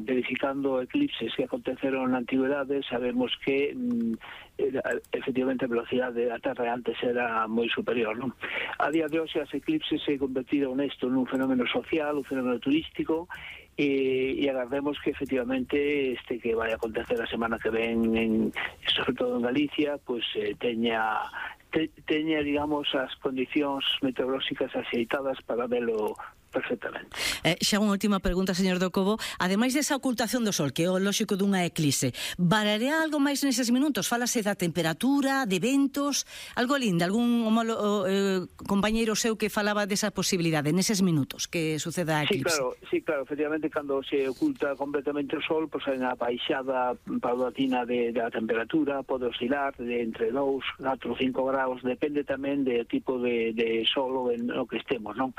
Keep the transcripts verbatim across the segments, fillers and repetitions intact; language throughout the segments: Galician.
verificando eclipses que aconteceron na antigüedade, sabemos que mm, efectivamente a velocidade da Terra antes era moi superior, non? A día de hoxe as eclipses se convertiron nesto nun fenómeno social, un fenómeno turístico, e, e agardemos que efectivamente este que vai acontecer a semana que ven en, sobre todo en Galicia, pois eh, teña te, teña, digamos, as condicións meteorolóxicas axeitadas para velo perfectamente. Eh, xa unha última pregunta, señor Docobo. Ademais desa ocultación do sol, que é o lóxico dunha eclipse, vararea algo máis neses minutos? Fálase da temperatura, de ventos, algo lindo, algún homolo, eh, compañeiro seu que falaba desa posibilidade neses minutos que suceda a eclipse? Sí, claro, sí, claro, efectivamente, cando se oculta completamente o sol, pois hai unha baixada paulatina de, da temperatura, pode oscilar de entre dous, catro, cinco graus, depende tamén do tipo de, de sol en o que estemos, non?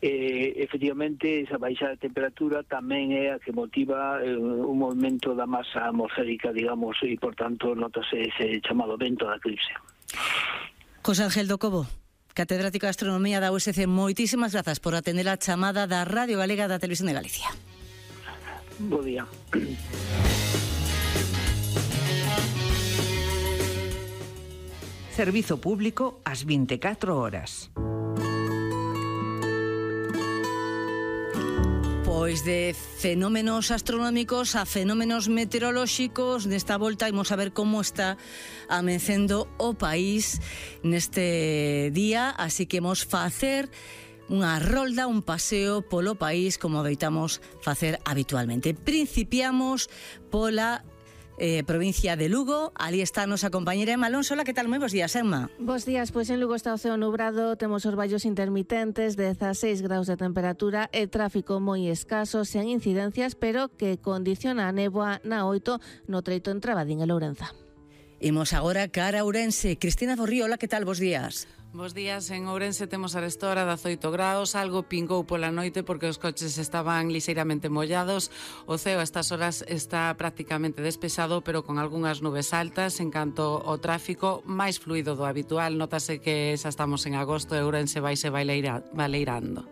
Eh, efectivamente, esa baixa de temperatura tamén é a que motiva eh, un movimento da masa atmosférica, digamos, e, por tanto, notase ese chamado vento da eclipse. José Ángel Docobo, catedrático de Astronomía da U S C, moitísimas grazas por atender a chamada da Radio Galega da Televisión de Galicia. Bo día. Servizo público ás vinte e catro horas. Pois de fenómenos astronómicos a fenómenos meteorolóxicos, nesta volta imos a ver como está amencendo o país neste día, así que imos facer unha rolda, un paseo polo país como adoitamos facer habitualmente. Principiamos pola Eh, provincia de Lugo. Ali está a nosa compañera Emma Alonso. Hola, que tal? Moi bons días, Emma. Bos días, pois en Lugo está o ceo nubrado, temos os vallos intermitentes, dezaseis graus de temperatura e tráfico moi escaso, sen incidencias, pero que condiciona a néboa na oito no treito entre Abadín e Lourenza. Imos agora cara a Ourense. Cristina Borrío, hola, que tal? Bos días. Bos días, en Ourense temos a esta hora dezaoito graus, algo pingou pola noite porque os coches estaban lixeiramente mollados. O ceo a estas horas está prácticamente despexado, pero con algunhas nubes altas. En canto ao tráfico, máis fluido do habitual, notase que xa estamos en agosto e Ourense vaise baileira, baleirando.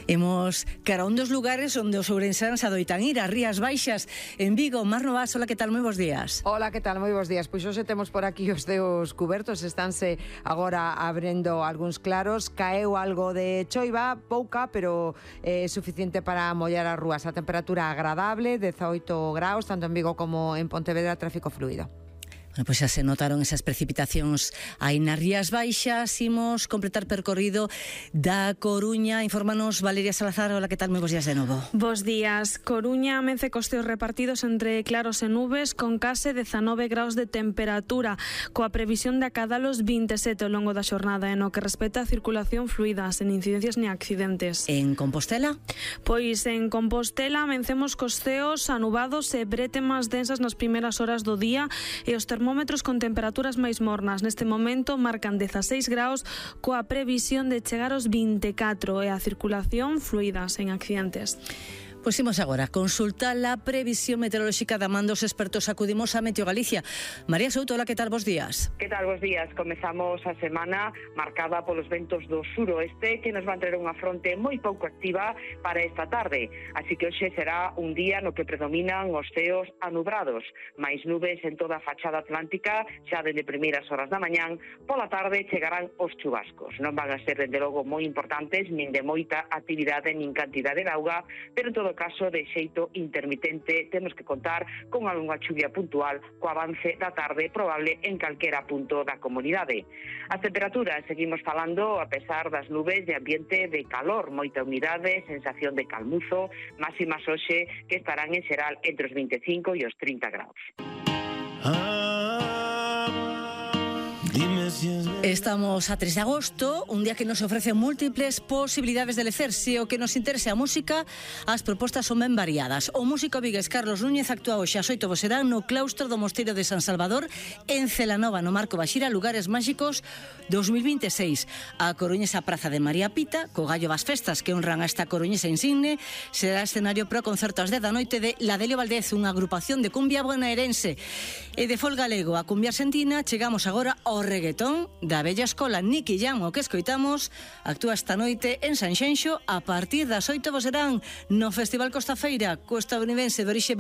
Imos cara a un dos lugares onde os ourensanos adoitan ir, as Rías Baixas, en Vigo. Mar Novas, hola, que tal? Moi bos días. Hola, que tal? Moi bos días. Pois hoxe temos por aquí os ceos cubertos, estánse agora abrendo algúns claros, caeu algo de choiva, pouca, pero é eh, suficiente para mollar as rúas. A temperatura agradable, dezaoito graus, tanto en Vigo como en Pontevedra, tráfico fluido. Bueno, pois xa se notaron esas precipitacións aí nas Rías Baixas. Imos completar percorrido da Coruña. Infórmanos Valeria Salazar. Hola, que tal? Moi bos días de novo. Bos días. Coruña amence cos teos repartidos entre claros e nubes, con case dezanove graus de temperatura, coa previsión de acadalos vinte e sete ao longo da xornada, en o que respecta a circulación fluida, sen incidencias ni accidentes. En Compostela? Pois en Compostela amencemos cos ceos anubados e brétemas densas nas primeiras horas do día, e os termómetros con temperaturas máis mornas neste momento marcan dezaseis graus, coa previsión de chegar aos vinte e catro, e a circulación fluida, sen accidentes. Pois imos agora consultar a previsión meteorolóxica da man dos expertos. Acudimos a Meteo Galicia. María Souto, hola, que tal? Bos días. Que tal? Bos días. Comezamos a semana marcada polos ventos do suroeste, que nos van traer unha fronte moi pouco activa para esta tarde. Así que hoxe será un día no que predominan os ceos anubrados, máis nubes en toda a fachada atlántica, xa dende primeiras horas da mañán. Pola tarde chegarán os chubascos. Non van a ser, dende logo, moi importantes, nin de moita actividade, nin cantidade de auga, pero en todo caso, de xeito intermitente, temos que contar con algunha chuvia puntual co avance da tarde probable en calquera punto da comunidade. As temperaturas, seguimos falando, a pesar das nubes, de ambiente de calor, moita humidade, sensación de calmuzo, máximas hoxe que estarán en xeral entre os vinte e cinco e os trinta graus. Estamos a tres de agosto, un día que nos ofrece múltiples posibilidades de lecer. Se o que nos interese a música, as propostas son ben variadas. O músico vigués Carlos Núñez actúa hoxe ás oito do serán no claustro do Mosteiro de San Salvador, en Celanova, no Marco Baxira, Lugares Máxicos dos mil vinte e seis. A coruñesa Praza de María Pita, co gallo das festas que honran a esta coruñesa insigne, será escenario para o concerto ás dez da noite de Ladelio Valdez, unha agrupación de cumbia bonaerense. E de folk galego a cumbia argentina, chegamos agora ao reggaetón da bella escola. Nicky Jam, o que escoitamos, actúa esta noite en Sanxenxo a partir das oito do serán no Festival Costa Feira, co estadounidense de orixe